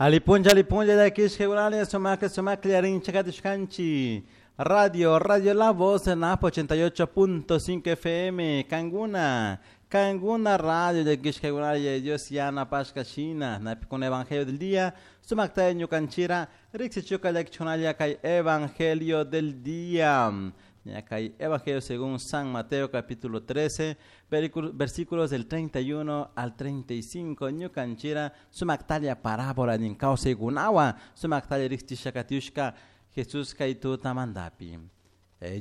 Alipunlla, alipunlla, llakishka sumakla, sumakla, rinchakatishkanchi. Radio, Radio La Voz en Napo 88.5 FM, Canguna, Canguna Radio, llakishka Dios yana pashka shina, napi con Evangelio del Día, sumakta ñukanchira, riksichuka llakichunalla kay Evangelio del Día. Kay Evangelio según San Mateo capítulo 13, versículos del 31 al 35. Ñukanchira sumaktalia parábola nin kawsaykunawan sumaktalia riqsishakatiushka Jesús kay tutamantapi.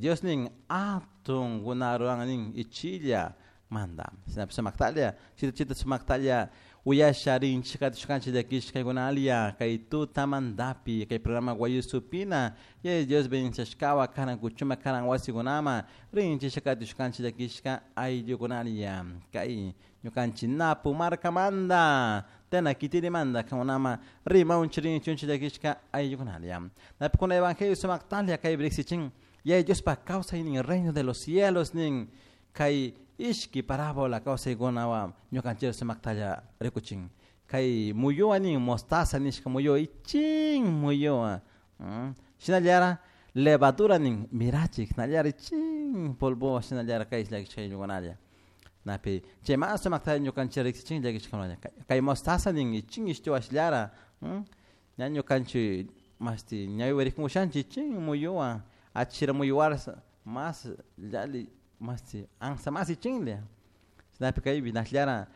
Dios nin atun kunaruwan nin ichilla manda. Sumaktalia, chita chita sumaktalia uyasha rinchikatishkanchik llakishkaykunalia kay tutamantapi kay programa Guayusupina y Dios bendiciashkawa karan kuchuma karan wasikunama rinchishakatishkanchik llakishka ayllukunalia kay ñukanchik Napu markamanta tena kitirimanta kankunama rimaunchik rinchunchik llakishka ayllukunalia. Napi kuna evangelio sumaktalia kay riksichin yaya Diospak kawsaynin reino de los cielos nin kay ishki parábola kawsaykunawan ñukanchik sumaktalla rikuchin kay muyuwa nin mostaza nishka muyuwa ichin muyuwa shinallara levadura nin mirachik shinallara ichin polvowan shinallara kay llakishka ayllukunalla napi chayman sumaktalla ñukanchik riksichin llakishkakunalla kay mostaza nin ichin ishtiwashllara ña ñukanchik mashti ñawiwa rikunkushanchik ichin muyuwa achira muyuwara mas yalli mashti ansa mas ichinlla chaypi kaypi nashllara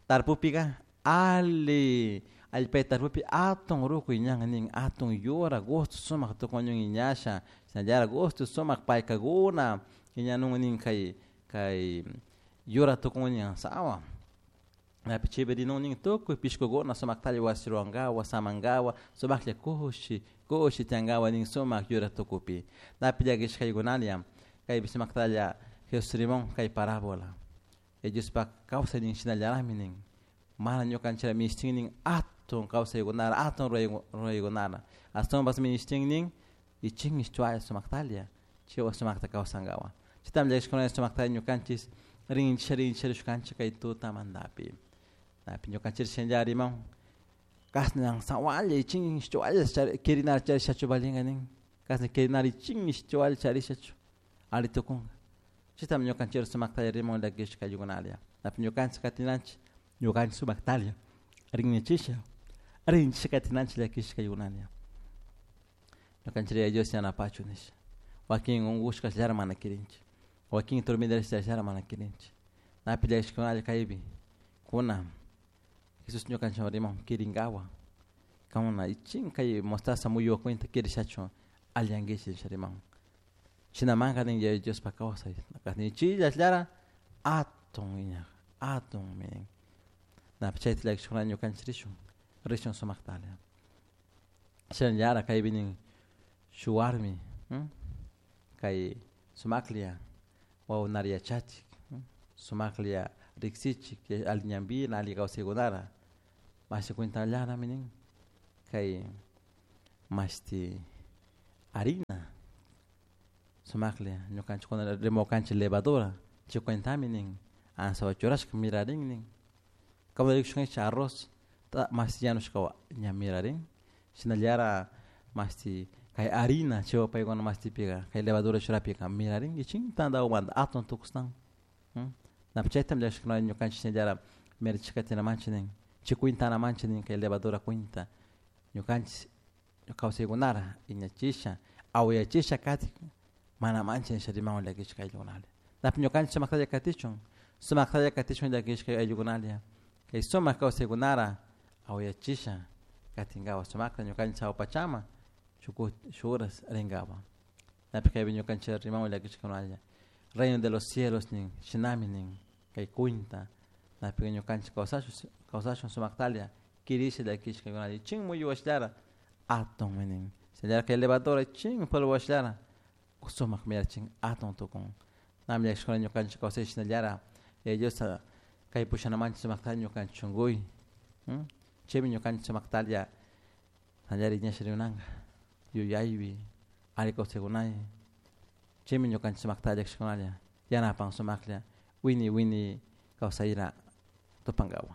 tarpupika alli allpay tarpupi atun rukuy ñan nin atun yura gusto sumak tukuñun iñasha shinallara gusto sumak paykakuna iñanun nin kay kay yura tukun sawa napi chaypi rinun nin tukuy pishkukuna sumaktalla wasi ruwankawa samankawa sumaklla kushi kushi tiyankawa nin sumak yura tukupi napi llakishkaykunalla kaypi sumaktalla Jesús rimon kay parábola Diospak kawsaynin shinallarami nin mana ñukanchik minishtin nin atun kawsaykunara atun ruraykunara ashtawanpas minishtin nin ichin ishchuaya sumaktalla chaywan sumakta kawsankawan chaytami llakishkuna sumaktalla ñukanchik rinchik rinchik rishkanchik kay tutamantapi napi ñukanchik shinallara riman kashna sawalla ichin ishchualla kirinara charishachu valinga nin kashna kirinara ichin ishchualla charishachu alli tukunka chaytami ñukanchik sumaktalla riman llakishka ayllukunalla napi ñukanchik katinanchik ñukanchik sumaktalla rinnichisha rinchik katinanchik llakishka ayllukunalla ñukanchik Yaya Dios yanapachun nisha wakin unkushkashllara mana kirinchik wakin dormidarishtallara mana kirinchik napi llakishkunalla kaypi kuna Jesús ñukanchikwan riman kirinkawan kankuna ichin kay mostaza muyuwa cuenta kirishachu alliyankichik nisha riman shinamanka nin Yaya Diospak kawsay ichillallara atun iñak atunmi nin napi chayta llakishkuna ñukanchik rishun rishun sumaktalla shinallara kaypi nin shuk warmi kay sumaklla wawakunata yachachik sumaklla riksichik alli ñanpina alli kawsaykunara mashi cuentallarami nin kay mashti harina sumaklla ñukanchik rimawankanchik levadura chay cuentami nin ansawan churashka mirarin nin kamu rikushkanchik arroz mashti yanushkawan ña mirarin shinallara mashti kay harina chaywan paykuna mashtipika kay levadura churapika mirarin ichin tandawamanta atun tukushtan napi chaytami llakishkuna ñukanchik shinallara mirachishka katinamanchik nin chay cuentanamanchik nin kay levadura cuenta ñukanchik kawsaykunara iñachisha awayachisha katik mana manchik nisha rimawan llakishka ayllukunalla napi ñukanchik sumaktalla katichun sumaktalla katichun llakishka ayllukunalla kay sumak kawsaykunara awayachisha katinkawa sumakta ñukanchik sawa pachama shuk horas rinkawa napi kaypi ñukanchik rimawan llakishkakunalla reino de los cielos nin shinami nin kay cuenta napi ñukanchik kawsashun kawsashun sumaktalla kirisha llakishkakunalla ichin muyuwashllara atunmi nin shinallara kay levadura ichin polvowashllara sumak mirachin atun tukun nami llakishkuna ñukanchik kawsay shinallara Yaya Diosta kay pushanamanchik sumaktalla ñukanchik shunkuy chaymi ñukanchik sumaktalla shinallara iñasha rinanka yuyaypi alli kawsaykunay chaymi ñukanchik sumaktalla llakishkunalla yanapan sumaklla wini wini kawsayra tupankawan.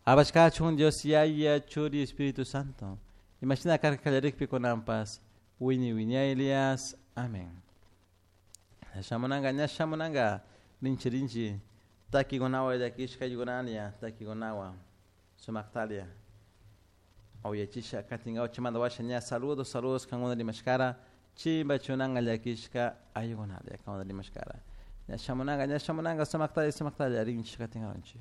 Alabashkachun Dios Yaya, Churi, Espíritu Santo. Imashina karka kallarikpi kunanpas wiñay wiñaylias. Amén. Shamunanga, ña shamunanga, rinchi rinchi, takikunawan llakishka ayukunalla, takikunawan, sumaktalia. Uyachisha katingawa chimanda washa ña saludos, saludos kankuna rimashkara, chimba chunanga llakishka ayukunalia kankuna rimashkara. Ña shamunanga, ña shamunanga, sumaktalia, sumaktalia, rinchi katingawanchik.